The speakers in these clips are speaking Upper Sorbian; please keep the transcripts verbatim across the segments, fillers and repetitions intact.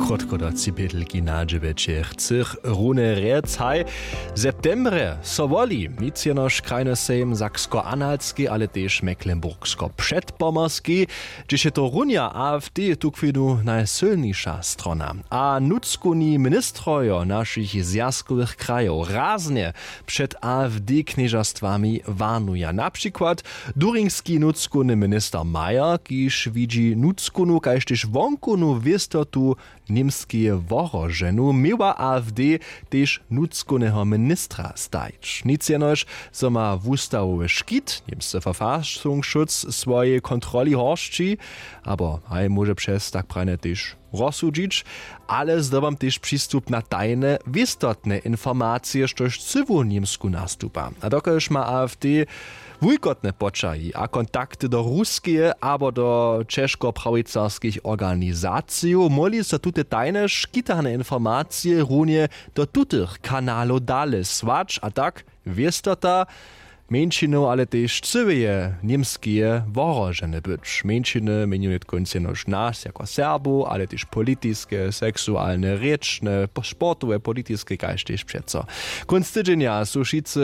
Krótko do cibědlki na dźewjećech chcych rune rjec haj. W septembrje so woli nic jenož krajny sejm saksko-analski ale tež mecklenburgsko-předpomorski, hdźež je to runja afd tukwinu najsylniša strona. A nutřkowni ministrojo našich zwjazkowych krajow raznje před afd knježerstwami warnuja na přikład duringski nutřkowny minister mayer kiž widźi nutřkownu kaž tež wonkownu wěstotu němskeje wohroženu měła afd tež nutřkowneho ministra stajić nic jenož zo ma wustawowy škit němsce verfassungsschutz swojej kontroli horsći abo haj móže přez tak prajnje tež rozsudźić, ale zdobam tež přistup na tajne wěstotne informacije štož cyłu němsku nastupa a dokelž ma afd wulkotne poćahi a kontakty do ruskeje abo do ćežkoprawicarskich organizacijow móhli so tute tajne škitane informacije runje do tutych kanalow dale słać a tak wěstota mjeńšinow ale tež cyłeje němskeje wohrožene być mjeńšiny měnju nětkónc jenož nas jako serbow ale tež politiske seksualne rěčne sportowe politiske kaž tež přeco kónc tydźenja su wšitcy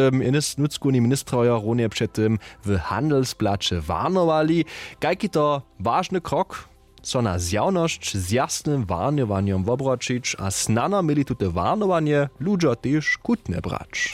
nutřkowni ministrojo runje před tym w handelsblaće warnowali kajki to wažny krok so na zjawnosć z jasnym warnjowanjom wobroćić a snano měli tute warnowanje ludźo tež chutnje brać.